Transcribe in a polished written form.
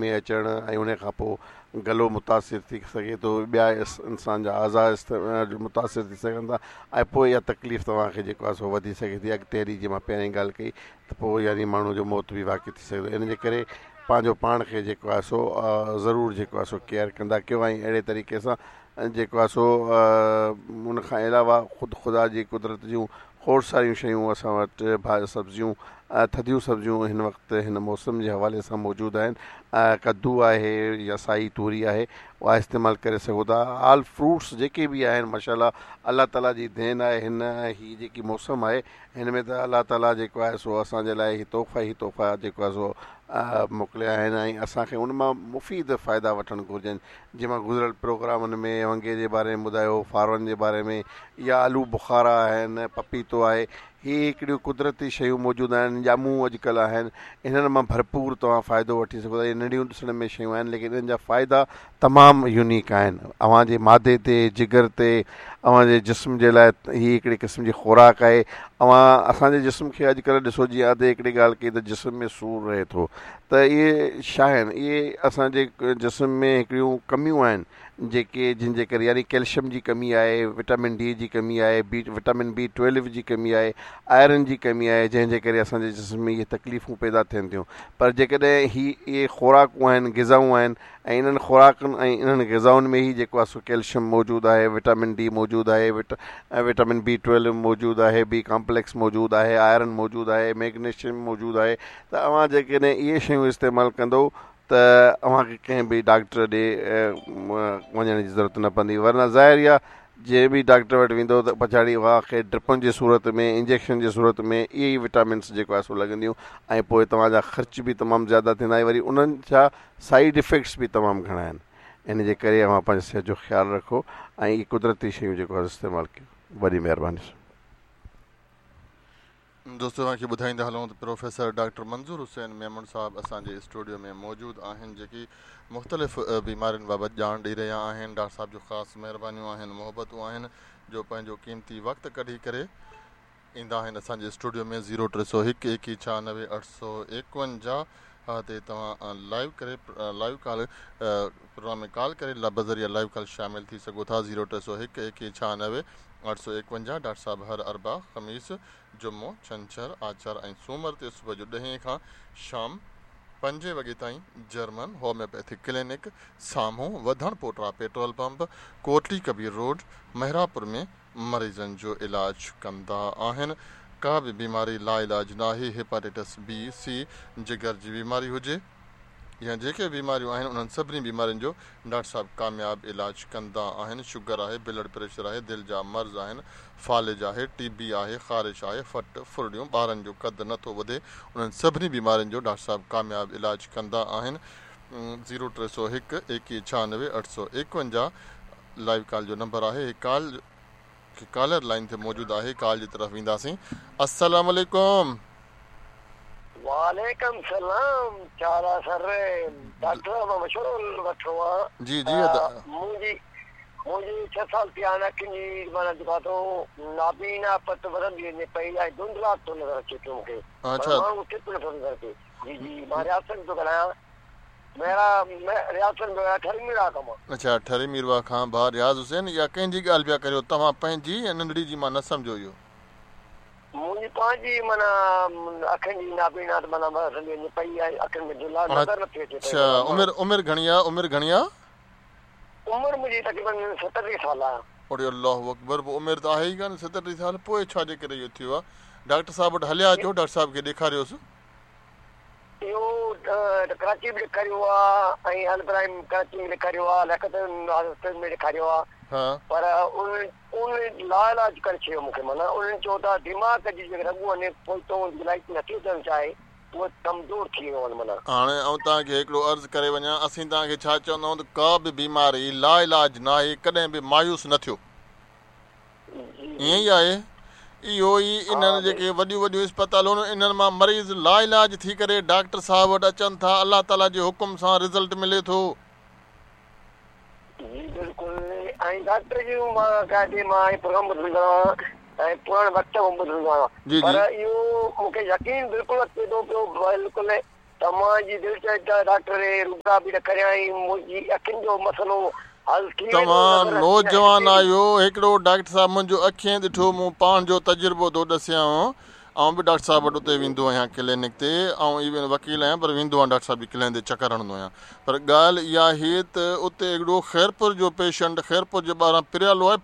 ۾ اچڻ ۽ ان کان پوء گلو متاثر ٿي سگهي ٿو ٻيا انسان جا اعضا متاثر ٿي سگهن ٿا ۽ پوء اها تڪليف توهان کي جيڪو آهي سو وڌي سگهي ٿي اڳتي هلي جيئن مان پهرين ڳالهه ڪئي ته پوء يعني ماڻهو جو موت به واقع ٿي سگهي ٿو ان جي ڪري پنهنجو پاڻ کي جيڪو آهي سو ضرور جيڪو آهي سو ڪيئر ڪندا ڪيو ۽ اهڙي طريقي سان جيڪو آهي سو ان کان علاوه خود خدا جي قدرت جون کوڙ ساريون شيون اسان وٽ ڀاڄ سبزيون ٿڌيون سبزيون هن وقت هن موسم جي حوالي سان موجود آهن ڪدو آهي يا سائي توري آهي اها استعمال ڪري سگهو ٿا آل فروٽس جيڪي به آهن ماشاء الله الله تعالي جي دين آهي هن هي جيڪي موسم آهي هن ۾ ته الله تعالي جيڪو آهي سو اسان جي لاء هي تحفا ئي تحفا جيڪو آهي سو موڪليا آهن ۽ اسان کي ان مان مفيد فائدا وٺڻ گهرجن جيئن مان گذريل پروگرامن ۾ ونگي جي باري ۾ ٻڌايو، فارون جي باري ۾ يا آلو بخارا آهن، پپيتو آهي، هي هڪڙيون قدرتي شيون موجود آهن، ڄمون اڄڪلهه آهن، انهن مان ڀرپور توهان فائدو وٺي سگهو ٿا، اهي ننڍيون ڏسڻ ۾ شيون آهن ليڪن انهن جا فائدا تمام يونيڪ آهن، اوهان جي معدي تي، جگر تي، اوهان جي جسم جي لاء هي هڪڙي قسم جي خوراڪ آهي، اوهان اسان جي جسم کي اڄڪلهه ڏسو جيئن ادي هڪڙي ڳالهه ڪئي ته جسم ۾ سور رهي ٿو ته اهي ڇا آهن؟ اهي اسان جي جسم ۾ هڪڙيون ڪميون آهن جيڪي جن جي ڪري يعني ڪيلشم جي ڪمي آهي، وٽامن ڊي جي ڪمي آهي، بي وٽامن بي ٽويلو جي ڪمي آهي، آئرن جي ڪمي آهي جنهن جي ڪري اسان جي جسم ۾ اهي تڪليفون پيدا ٿين ٿيون پر جيڪڏهن هي اهي خوراڪون آهن غذائون آهن ۽ انهن خوراڪن ۽ انهن غذائن ۾ ئي جيڪو آهي سو ڪيلشم موجود آهي، وٽامن ڊي موجود آهي، وٽامن بي ٽويلو موجود آهي، بي ڪامپليڪس موجود آهي، آئرن موجود آهي، ميگنيشيم موجود آهي ته اوهان جيڪڏهن اهي شيون استعمال ڪندو ته اوهان کي ڪنهن به ڊاڪٽر ڏي وڃڻ جي ضرورت نه پوندي ورنه ظاهر آهي جنهن به ڊاڪٽر وٽ ويندو ته پڇاڙي اوهان کي ڊرپن جي صورت ۾ انجيڪشن جي صورت ۾ اهي ئي وٽامنس جيڪو آهي سو لڳنديون ۽ پوء توهان جا خرچ به تمام زياده ٿيندا ۽ وري انهن جا سائيڊ افيڪٽس به تمام گهڻا آهن ان جي ڪري اوهان پنهنجي صحت جو خيال رکو ۽ اهي قدرتي شيون جيڪو آهي استعمال ڪيو وڏي مهرباني. دوستو اوهان کي ٻڌائيندا هلون ته پروفيسر ڊاڪٽر منظور حسين ميمڻ صاحب اسان جي اسٽوڊيو ۾ موجود آهن جيڪي مختلف بيمارين بابت ڄاڻ ڏئي رهيا آهن ڊاڪٽر صاحب جون خاص مهربانيون آهن محبتون آهن جو پنهنجو قيمتي وقت ڪڍي ڪري ايندا آهن اسان جي اسٽوڊيو ۾ زيرو 301 21 96 851 تي توهان لائيو ڪري لائيو ڪال پروگرام ۾ ڪال ڪري بذريعه لائيو ڪال شامل ٿي سگهو ٿا زيرو 301 21 96 851 ڊاڪٽر صاحب هر اربع، خميس، جمعو، ڇنڇر، آچر ۽ سومر تي صبح جو ڏهين کان شام پنجين وڳي تائين جرمن هوميوپيٿڪ ڪلينڪ سامهون وڌڻ پوٽرا petrol pump Kotli Kabir road Mehrabpur ۾ مريضن جو علاج ڪندا آهن ڪا به بيماري لاعلاج ناهي هيپاٽائٽس بي سي جگر جي بيماري هجي يا جيڪي به بيماريون آهن انهن سڀني بيمارين جو ڊاڪٽر صاحب ڪامياب علاج ڪندا آهن شگر آهي بلڊ پريشر آهي دل جا مرض آهن فالج آهي ٽي بي آهي خارش آهي ڦٽ ڦرڙيون ٻارن جو قد نه ٿو وڌي انهن سڀني بيمارين جو ڊاڪٽر صاحب ڪامياب علاج ڪندا آهن زيرو 301 21 96 851 لائيو ڪال جو نمبر آهي هي ڪال ڪالر لائين تي موجود آهي ڪال جي طرف وينداسين السلام عليڪم. وعليڪم سلام ڇا حال آ سر ڊاڪٽر صاحب مان مشورو وٺڻو آ جي جي ادا. منهنجي منهنجي ڇهه سال ٿيا آهن اکين جي معنيٰ جيڪو آ سو نابينا پت وڌندي وڃي پئي ۽ ڌنڌلاٽ ٿو نظر اچي پيو مونکي معنيٰ ماڻهو چٽ نٿو نظر اچي جي جي مان رياض سنڌ ٿو ڳالهايان اڇا ٺري ميرواهه کان ڀاء رياض حسين اها ڪنهن جي ڳالهه پيا ڪريو توهان پنهنجي يا ننڍڙي جي مان نه سمجهيو اهو. منهنجي پنهنجي معنيٰ اکين جي نابينا ته معنيٰ وڌندي پئي ۽ اکين ۾ ڌنڌلاٽ نظر نٿي اچي پئي. اڇا عمر عمر گهڻي آ عمر گهڻي آ؟ عمر منهنجي تقريبن 37 سال آ. اڙي الله اڪبر پوء عمر ته آهي ئي ڪانه 37 سال پوء ڇا جي ڪري اهو ٿيو آ ڊاڪٽر صاحب وٽ هليا اچو ڊاڪٽر صاحب کي ڏيکاريوس. اهو ته ڪراچي به ڏيکاريو آ ۽ البراهيم ڪراچي ۾ ڏيکاريو آ لياقت هاسپيٽل ۾ ڏيکاريو آ پر انهن انهن لاعلاج ڪري ڇڏيو مون کي معنيٰ انهن چيو ته دماغ جي جيڪي رڳون آهن پوئتو لائيٽ نٿي اچڻ چاهي اهي ڪمزور ٿي ويون آهن معنيٰ. هاڻي آئون توهان کي هڪڙو عرض ڪري وڃان اسين توهان کي ڇا چوندا آهيون ته ڪا به بيماري لاعلاج ناهي ڪڏهن به مايوس نه ٿيو. ائين ئي آهي. اهو ئي انهن جيڪي وڏيون وڏيون اسپتالون آهن انهن مان مريض لاعلاج ٿي ڪري ڊاڪٽر صاحب وٽ اچن ٿا الله تعالي جي حڪم سان رزلٽ ملي ٿو. جي بلڪل ۽ ڊاڪٽر جون مان ڪاٿي مان هي پروگرام ٻڌندو آهيان ۽ پراڻي وقت کان ٻڌندو آهيان پر اهو مون کي يقين بلڪل اچي ٿو پيو بلڪل ته ته منهنجي دل چئي ته ڊاڪٽر روبرا به ڏيکاريان ۽ منهنجي اکين جو مسئلو حل ٿي ويندو توهان نظر نوجوان آهيو هڪڙو ڊاڪٽر صاحب منهنجو اکين ڏٺو مون پاڻ جو تجربو ٿو ڏسيانو آئون به ڊاڪٽر صاحب وٽ اتي ويندو آهيان ڪلينڪ تي آئون ايون وڪيل آهيان پر ويندو آهيان ڊاڪٽر صاحب جي ڪلينڪ تي چڪر هڻندو آهيان پر ڳالهه اها آهي ته اتي هڪڙو خيرپور جو پيشنٽ خيرپور جي ٻاهران پريالو آهي.